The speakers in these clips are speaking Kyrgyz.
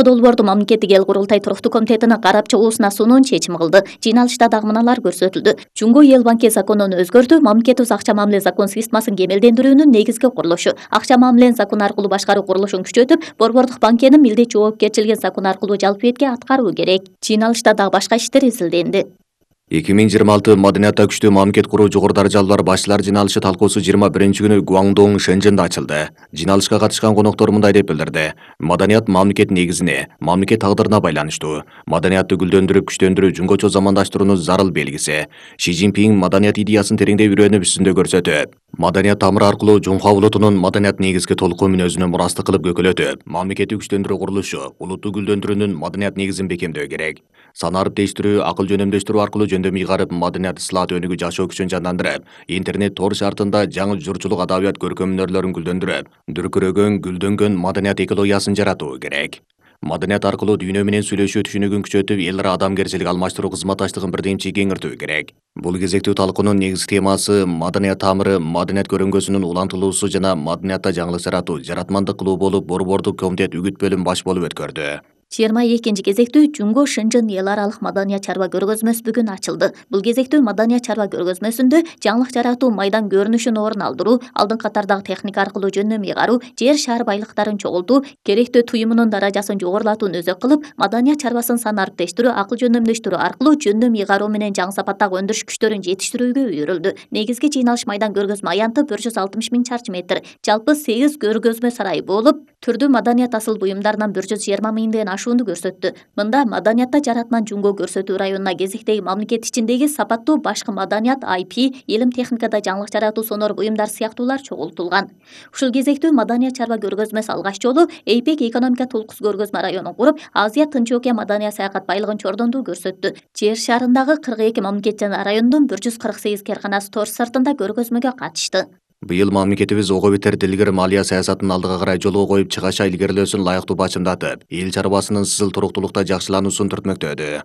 долбоорду мамлекеттик эл курултай туруктуу комитетинин карап чыгуусуна суунун чечим кылды. Жыйналышта дагы мыналар көрсөтүлдү. Жумго эл банки законун өзгөртүү, мамлекеттик акча мамиле закон системасын кемелдендирүүнүн негизги курулушу, акча мамиленин закон аркылуу башкаруу курулушун күчөтүп, Борбордук банкенин милдет жоопкерчилигин закон аркылуу жалпы бетке аткаруу керек. Жыйналышта дагы башка иштер изилденди. 2026 маданиятта күчтүү мамлекет куруу жогору даражалуулар башчылар жыйналышы талкуусу 21-күнү Гуандоң, Шэньчжэнде ачылды. Жыйналышка катышкан коноктор мындай деп билдирди. Маданият мамлекет негизине, мамлекет тагдырына байланыштуу. Маданиятты гүлдөндүрүп, күчтөндүрүү жөнгөчө замандаштыруунун зарыл белгиси. Ши Цзиньпин маданият идеясын тереңдей үйрөнүп, үстүндө көрсөтөт. Маданият тамыры аркылуу Жунхуа улутунун маданият негизги толкуу мүнөзүнө мурастык кылып көкөлөтүп, мамлекетти күчтөндүрүү курулушу, улутту гүлдөндүрүүнүн маданият негизин бекемдөө керек. Санарып değiştirүү, акыл жөнөмдөштүрүү аркылуу жөндөм ыйгарып, маданият ислаат өнүгүү жашоо күчүн жандандырып, интернет тор шартында жаңы журчулук адабият көркөм өнөрлөрүн гүлдөндүрүп, дүркүрөгөн, гүлдөнгөн маданият экологиясын жаратуу керек. Маданият аркылуу дүйнө менен сүйлөшүү түшүнүгүн күчөтүп, эл ара адамгерчилик алмаштыруу кызматташтыгын бирдемчи кеңиртүү керек. Бул кезектүү талкуунун негизги темасы маданият тамыры, маданият көрөңгөсүнүн улантылуусу жана маданиятта жаңылык жаратуу, жаратмандык кылуу болуп, Борбордук комитет үгүт бөлүм баш болуп өткөрдү. 22 кезектүү Жумго Шэньчжэн эл аралык маданият чарба көргөзмөсү бүгүн ачылды. Бул кезектүү маданият чарба көргөзмөсүндө жаңылык жаратуу, майдан көрүнүшүн орун алдыруу, алдыңкы катардагы техника аркылуу жөндөм ыйгаруу, жер шаар байлыктарын чогултуу, керектөө туюмунун даражасын жогорулатууну өзөк кылып, маданият чарбасын санариптештирүү, акыл жөндөмдөштүрүү аркылуу жөндөм ыйгаруу менен жаңы сапаттагы өндүрүш күчтөрүн жетиштирүүгө үйрүлдү. Негизги жыйналыш майдан көргөзмө аянты 160 000 чарчы метр, жалпы 8 көргөзмө сарайы болуп, түрдүү маданият асыл буюмдарынан 120 000 ашуунду көрсөттү. Мында маданиятта жаратман Жумго көрсөтүү районуна кезектеги мамлекет ичиндеги сапаттуу башкы маданият, IP, илим техникада жаңылык жаратуу сонор буюмдар сыяктуулар чогултулган. Ушул кезектүү маданият чарба көргөзмөсү алгач жолу APEC экономика толкус көргөзмө районун куруп, Азия Тынч океан маданият саякат байлыгын чордондуу көрсөттү. Жер шарындагы 42 мамлекет жана райондун 148 кээрканасы тор сыртында көргөзмөгө катышты. Быйыл мамлекетибиз ого бетер дилгир малия саясатын алдыга карай жолго коюп, чыгаша илгерилөөсүн лайыктуу бачымдатып, эл чарбасынын сызыл туруктуулукта жакшылануусун түртмөктөдү.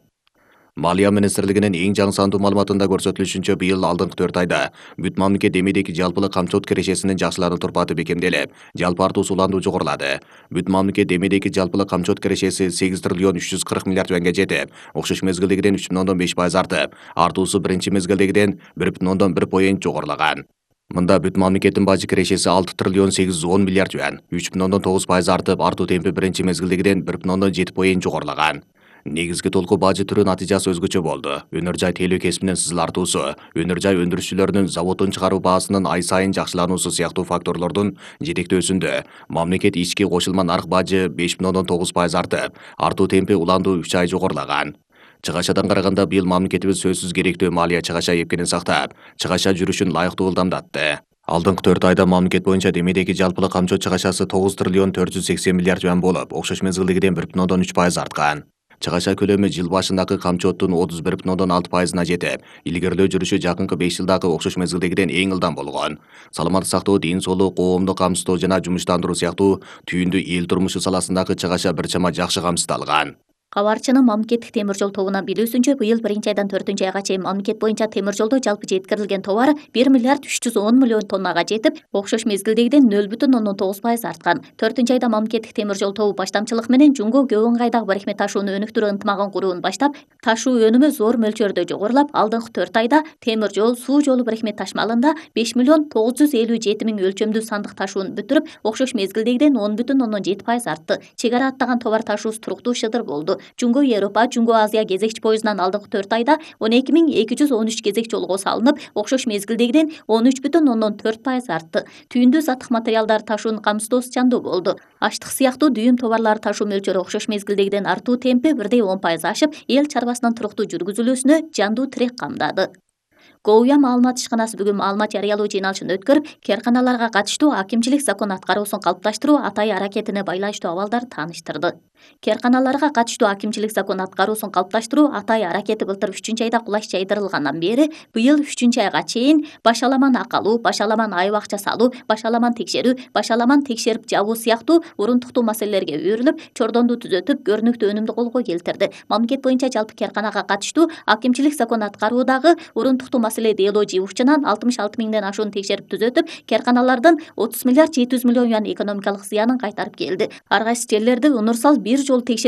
Малия министрлигинин эң жаңы сандуу маалыматында көрсөтүлүшүнчө, быйыл алдыңкы 4 айда бүт мамлекет демейдеги жалпылык камчылык кирешесинин жакшылануу турпаты бекемделип, жалпы артуу суландуу жогорулады. Бүт мамлекет демейдеги жалпылык камчылык кирешеси 8 триллион 340 миллиард теңгеге жетип, окшош мезгилдегиден 3,5% артып, артуусу биринчи мезгилдегиден 1,1 поинт жогорулаган. Мында бүт мамлекеттин бажы кирешеси 6 триллион 810 миллиард юан, 3,9% артып, артуу темпи биринчи мезгилдегиден 1,7 поинт жогорулаган. Негизги толкуу бажы түрү натыйжасы өзгөчө болду. Өнөр жай тейлөө кесибинин сызыл артуусу, өнөр жай өндүрүшчүлөрүнүн заводдун чыгаруу баасынын ай сайын жакшылануусу сыяктуу факторлордун жетектөөсүндө мамлекет ички кошулма нарк бажы 5,9% артып, артуу темпи уландуу 3 ай жогорулаган. Чыгашадан караганда быйыл мамлекетибиз сөзсүз керектүү малия чыгаша эпкенин сактап, чыгаша жүрүшүн лайыктуу ылдамдатты. Алдыңкы 4 айда мамлекет боюнча демейдеги жалпылык камчоо чыгашасы 9 триллион 480 миллиард юан болуп, окшош мезгилдегиден 1,3% арткан. Чыгаша көлөмү жыл башындагы камчооттун 31,6%-на жетип, илгерилөө жүрүшү жакынкы 5 жылдагы окшош мезгилдегиден эң ылдам болгон. Саламаттык сактоо, ден соолук, коомдук камсыздоо жана жумуштандыруу сыяктуу түйүндүү эл турмушу саласындагы чыгаша бир чама жакшы камсыздалган. Кабарчынын мамлекеттик темир жол тобунан билүүсүнчө, быйыл 1-айдан 4-айга чейин мамлекет боюнча темир жолдо жалпы жеткирилген товар 1 миллиард 310 миллион тоннага жетип, окшош мезгилдегиден 0,9% арткан. 4-айда мамлекеттик темир жол тобу баштамчылык менен Жумго көк ыңгайдагы барихмет ташууну өнүктүрүү ынтымагын куруун баштап, ташуу өнүмү зор мөлчөрдө жогорулап, алдыңкы 4 айда темир жол, суу жолу барихмет ташмалында 5 миллион 957 миң өлчөмдүү сандык ташууну бүтүрүп, окшош мезгилдегиден 10,7% артты. Чек ара аттаган товар ташуусу туруктуу шыдыр болду. Жумго Европа, Жумго Азия кезекчи поездунан алдыңкы 4 айда 12.213 кезек жолго салынып, окшош мезгилдегиден 13,4% артты. Түйүндүү саттык материалдар ташуунун камсыздоосу чандуу болду. Аштык сыяктуу дүйүм товарлары ташуу мөлчөрү окшош мезгилдегиден артуу темпи 1,10% ашып, эл чарбасынын туруктуу жүргүзүлүүсүнө жандуу тирек камдады. Гоуя маалымат ишканасы бүгүн маалымат жарыялоо жыйналышын өткөрүп, кээрканаларга катыштуу акимчилик закон аткаруусун калыпташтыруу Атай аракетине байланыштуу абалдарды тааныштырды. Кээрканаларга катыштуу акимчилик закон аткаруусун калыпташтыруу Атай аракети былтыр 3-айда кулаш жайдырылгандан бери быйыл 3-айга чейин башаламан акалуу, башаламан айып акча салуу, башаламан текшерүү, башаламан текшерип жабуу сыяктуу урунтуктуу маселелерге үйрүлүп, чордонду түзөтүп, көрүнүктүү өнүмдү колго келтирди. Мамлекет боюнча жалпы кээрканага катыштуу акимчилик закон аткаруудагы урунтуктуу маселе дело жыйуучунан 66 миңден ашуун текшерип түзөтүп, кээрканалардын 30 миллиард 700 миллион юан экономикалык зыянын кайтарып келди. Ар кайсы жерлерди унурсал бир жолу текшерип